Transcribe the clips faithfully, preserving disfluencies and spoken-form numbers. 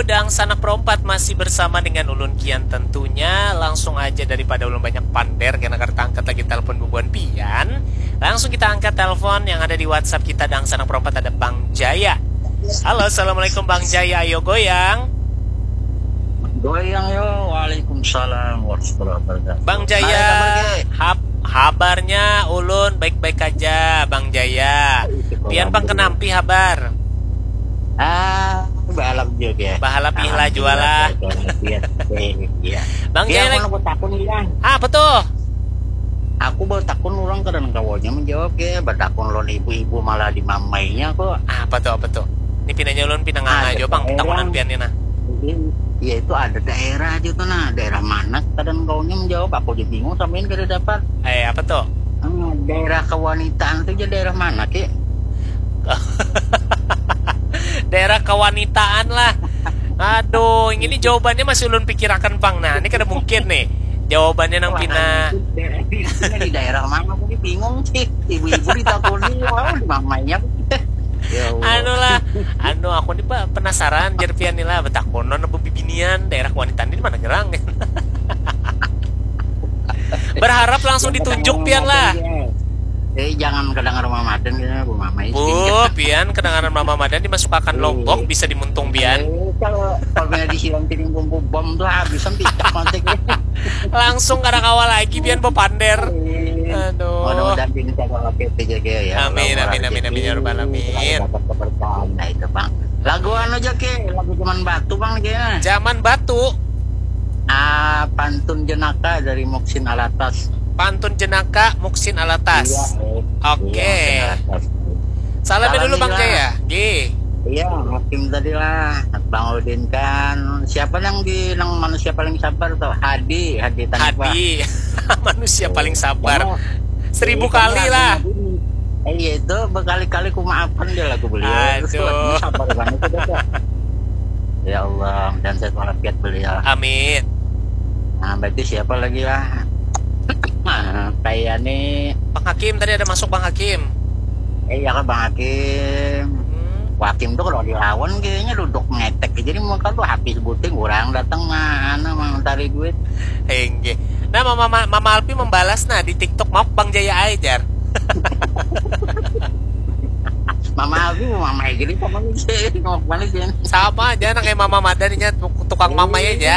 Dangsanak Perompat masih bersama dengan ulun Kian tentunya. Langsung aja daripada ulun banyak pander karena kada angkat lagi telepon bubuhan pian. Langsung kita angkat telepon yang ada di WhatsApp kita Dangsanak Perompat ada Bang Jaya. Halo, assalamualaikum Bang Jaya, ayo goyang. Goyang yo, waalaikumsalam warahmatullahi wabarakatuh. Bang Jaya, hab habarnya ulun baik-baik aja Bang Jaya. Pian pang kenampi habar? Ah, bahalap juga ya. Bahalap ihlah jualah. Iya. Bang Jaya lagi. Aku takun hilang. Ah, apa tuh? Aku bertakun orang kadang kawanya menjawab ya, bertakun lawan ibu-ibu malah dimamainya kok. Ah, apa tuh, apa tuh? Ini pinanya ulun pinang aja bang, takunan pian ini nah. Iya itu ada daerah aja tuh nah, daerah mana kadang kawanya menjawab, aku aja bingung sampai ini kada dapat. Eh, apa tuh? Hmm, daerah kewanitaan tuh aja daerah mana ki? Daerah kewanitaan lah. Aduh, ini jawabannya masih ulun pikirakan pang. Nah, ini kada mungkin nih. Jawabannya nang pina. Di daerah mana aku bingung sih. Ibu-ibu ditakuni, oh, mamanya. Ya Allah. Anu lah, anu aku ni penasaran jer pian ni lah, betakonon apa bibinian daerah kewanitaan ini mana gerang. Berharap langsung ditunjuk pian lah. Eh, jangan kedengar Mama Madan ya, Bu Mama Isin. Bu, pian kedengaran Mama Madan dimasukakan lombok bisa dimuntung pian. Eh, kalau kalau kena disiram piring bumbu bom tuh habis sampai cak mati. Langsung kada kawa lagi pian bepander. Aduh. Mudah-mudahan ini tak apa kita jaga ya. Amin, amin, amin, amin, ya rabbal alamin. Dapat keberkahan nah itu bang. Lagu anu aja ke, lagu zaman batu bang kayaknya. Zaman batu. Ah, pantun jenaka dari Muksin Alatas. Pantun jenaka Muksin Alatas. Iya, eh. Oke. Iya, Muksin Alatas. Salamnya dulu Bang Jaya. G. Iya, Hakim tadi lah. Bang Udin kan. Siapa yang di yang manusia paling sabar tuh? Hadi, Hadi Tanpa. Hadi. Manusia paling sabar. Seribu kali lah. Eh, iya itu berkali-kali ku maafkan dia lagu beliau. Aduh. Sabar banget itu. Ya Allah, dan sehat walafiat beliau. Amin. Nah, berarti siapa lagi lah? Nah, kayak nih Bang Hakim tadi ada masuk Bang Hakim. Eh, iya kan Bang Hakim. Hmm. Hakim tuh kalau dilawan kayaknya duduk ngetek jadi muka tuh habis buting orang datang mah anu mau cari duit. Enggak. Nah, Mama Mama Alpi membalas nah di TikTok mau Bang Jaya ajar. Mama Abi mau mama gini sama nih sih, mau kemana sih? Sama aja anak kayak Mama Madan nya tukang mama ya aja.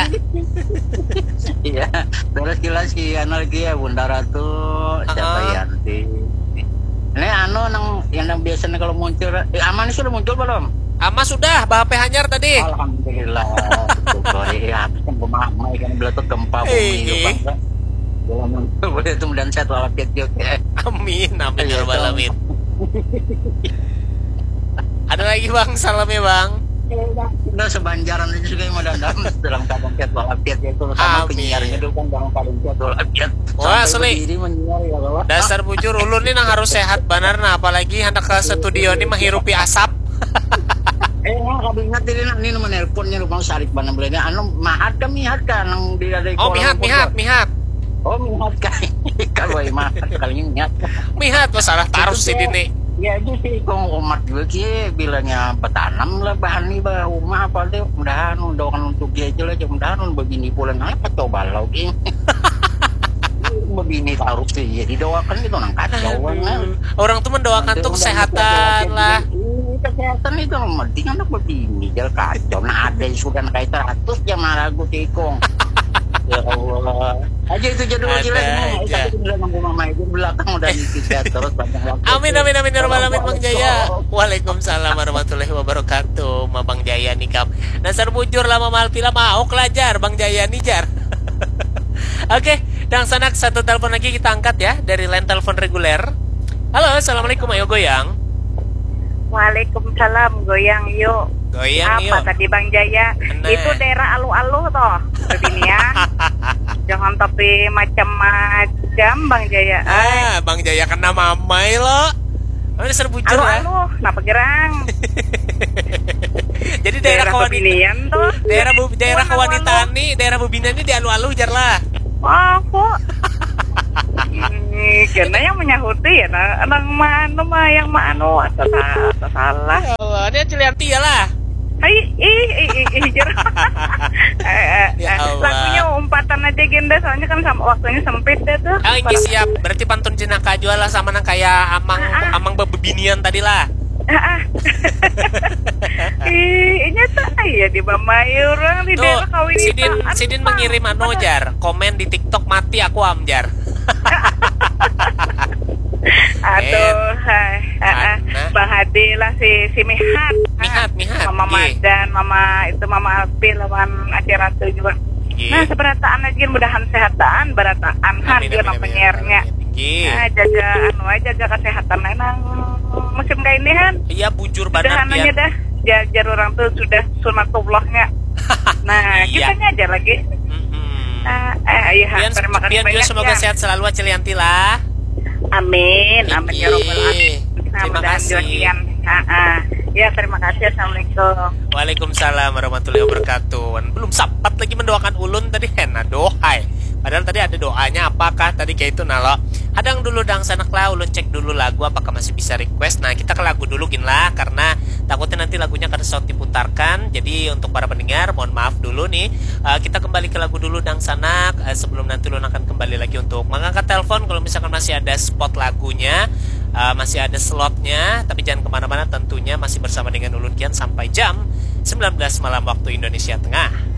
Iya, terus jelas si Anal ya Bunda Ratu, siapa Yanti. Ini anu nang yang biasanya kalau muncul, eh, Ama ini sudah muncul belum? Ama sudah, bah P H nyar tadi. Alhamdulillah. Betul, iya, aku kan mama ikan belatuk gempa bumi itu bangsa. Boleh itu mudahan sehat walafiat juga. Amin, amin ya rabbal alamin. Ada lagi bang, salamnya bang. Nah, sebanjaran itu juga yang mau dandam dalam keadaan sehat walafiat ya itu sama penyiarnya itu kan dalam keadaan sehat walafiat. Wah, asli. Dasar bujur ulun nih nang harus sehat banar nah apalagi hendak ke studio nih menghirupi asap. Eh, nah, kami ingat ini nah, ini nomor nelponnya rumah sarik banar belinya anu mahat kami hat kan nang di ada. Oh, mihat mihat mihat. Oh, mihat kan. Kalau mahat kali ini mihat. Mihat masalah tarus sih ini. Ya aja sih kong umat juga sih bilangnya bertanam lah bahan nih bah rumah apa deh mudahan udah kan untuk dia aja lah mudahan udah begini pulang apa coba lo gini. Begini harus ya didoakan gitu nang kacau kan. Orang tuh mendoakan tuh kesehatan lah. Kesehatan itu yang penting anak begini jal kacau nah ada yang sudah kayak seratus jam ragu tikung. Ya Allah. Aja itu jadwal aja. Tapi udah nunggu mama itu belakang udah nikah terus banyak waktu. Amin amin amin ya rabbal alamin Bang Jaya. Waalaikumsalam warahmatullahi wabarakatuh. Ma Bang Jaya nikam. Dasar bujur lah Mama Alpi lah mauk lah jar Bang Jaya nih jar. Oke, dangsanak satu telepon lagi kita angkat ya dari line telepon reguler. Halo, assalamualaikum, ayo goyang. Waalaikumsalam, goyang yuk. Goyang yuk. Apa tadi Bang Jaya? Itu daerah aluh-aluh toh, bebinian. Jangan tapi macam-macam Bang Jaya. Ah, Bang Jaya kena mamai lo. Mana dasar bujur ya? Aluh-aluh, kenapa gerang? Jadi daerah kewanitaan tuh. Daerah bu, daerah kewanitaan nih, daerah bebina nih di aluh-aluh jar lah. Oh, kok. Ini kena yang menyahuti ya, nah, nang manu mah yang manu atau sa- atau salah. Ya Allah, ini Cilianti ya lah. Hai, ih, ih, ih, ih, jar. waktunya sempit deh tuh. Ah, ini siap. Berarti pantun jenaka juga lah sama nang kayak amang ah, ah. Amang bebinian tadi lah. Ah, ah. Ih, ini tuh ya di Bamai orang di daerah kawin sidin sidin mengirim anu jar, komen di TikTok mati aku am jar. Aduh, hai. Heeh. Bang Hadi lah si si Mihat. Mihat, Mihat. Mama Madan, mama itu mama Alpi lawan Acil Ratu juga. Nah, seberataan lagi mudahan sehataan, berataan han dia penyiarnya. Nah, jaga anu aja, jaga kesehatan memang musim kayak ini han. Iya, bujur banget ya. Dah, jajar orang tuh sudah sunatullahnya. Nah, iya. Kitanya aja lagi. Mm-hmm. Uh, eh, iya, terima kasih banyak juga ya. Semoga sehat selalu Acil Yanti lah. Amin, amin ya robbal alamin. Nah, terima kasih. Ya, terima kasih. Assalamualaikum. Waalaikumsalam warahmatullahi wabarakatuh. Belum sempat lagi mendoakan ulun tadi, hena dohai. Padahal tadi ada doanya apakah tadi kayak itu nalo. Hadang dulu dang sanak lah, ulun cek dulu lagu apakah masih bisa request. Nah, kita ke lagu dulu gin lah karena takutnya nanti lagunya kada saut diputarkan. Jadi untuk para pendengar, mohon maaf dulu nih. Uh, kita kembali ke lagu dulu dang sanak uh, sebelum nanti ulun akan kembali lagi untuk mengangkat telepon kalau misalkan masih ada spot lagunya, uh, masih ada slotnya. Tapi jangan kemana-mana, tentunya masih bersama dengan ulun kian sampai jam sembilan belas malam waktu Indonesia Tengah.